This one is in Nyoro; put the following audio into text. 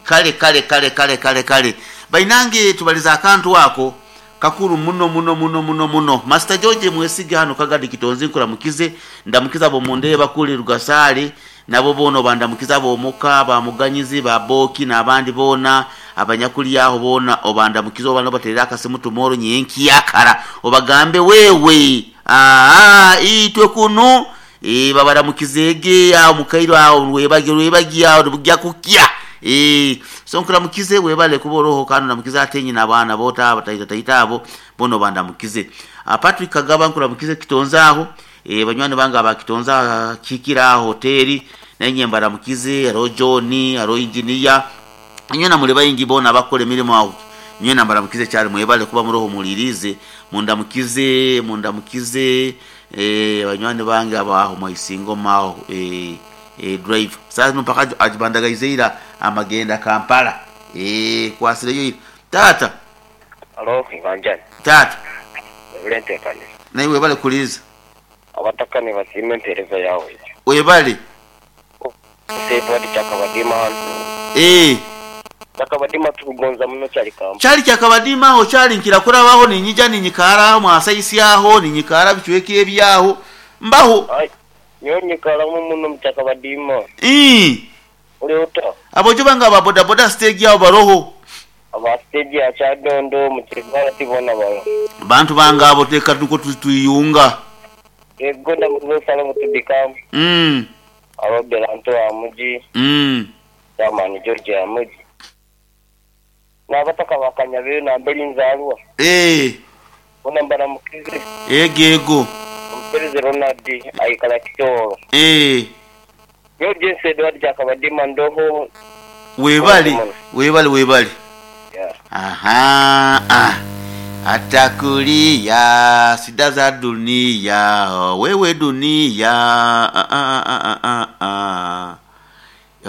Kale, kale, kale, kale, kale, kale. Bainange tubalize akantu ako kakulu muno muno muno muno muno. Master George Mwesige hano Kagadi Kitonzi nkuramukize, ndamukize ab'omu kuli Rugasaale nabo boona obandamukize ab'omuka, ba Muganyizi, ba Booki n'abandi boona abanyakuli agho boona obandamukize oba n'obateerere akasimu tumoro nyenkyakara obagambe wewe aa itwe kunu ee babaramukizeege agho mukaire agho lwebagyo lwebagyo agho nibugya kukya ee so nkuramukize webale kuba oroho kandi ondamukize ate nyina abaana bo taata taita abo boona obandamukize. Patrick Kagaba nkuramukize Kitonzi agho ee banywani bange aba Kitonzi kihikire agho hoteri nainye mbaramukize haroho John, haroho Engineer inywena muli baingi boona abakukora emirimo agho nywena mbaramukize kyali mwebale kuba muroho muwuliriize mundamukize mundamukize ee banywani bange abo agho Mwaisingoma agho ee ee driver saha zino mpaka ajibandagaize ira amagenda Kampala ee kwasireyo ira taata. Halo Ibanjani. Taata. Webale enteekaniza. Naiwe webale kuwuliriza. Abataka ni basiima empeereza yawe eyo. Webale. Nse Edward Kyakabadima hano. Eeh. Kyakabadima tukugonza muno kyali Kampala. Kyali Kyakabadima agho kyali nkira kurabagho ninyija ninyikaara agho mwasaisi agho ninyikaara bicweka ebyagho mbagho. Aye nyowe nyikaramu muno mu Kyakabadima. Ii. Oli ota? Abojo bange aba bodaboda siteegi agho baroho. Aba siteegi ya Kyadondo mu Kigwati boona baroho. Bantu bange abo leka nukwo twiyunga. Yego ndamukiza Salomo Tudikamu. Mm. Aba Belanto wa Mugi. Mm. Chairman George ya Mugi. N'abataka ba Kanyabeyo nambere nzaalwa. Eeh. Boona mbaramukize. Ego ego. Omupereze Ronald aikala Kitooro. Eeh. Nyowe James Edward Kyakabadima ndoho. Webale, webale, webale. Ahaa, atakulia shida za dunia, wewe dunia.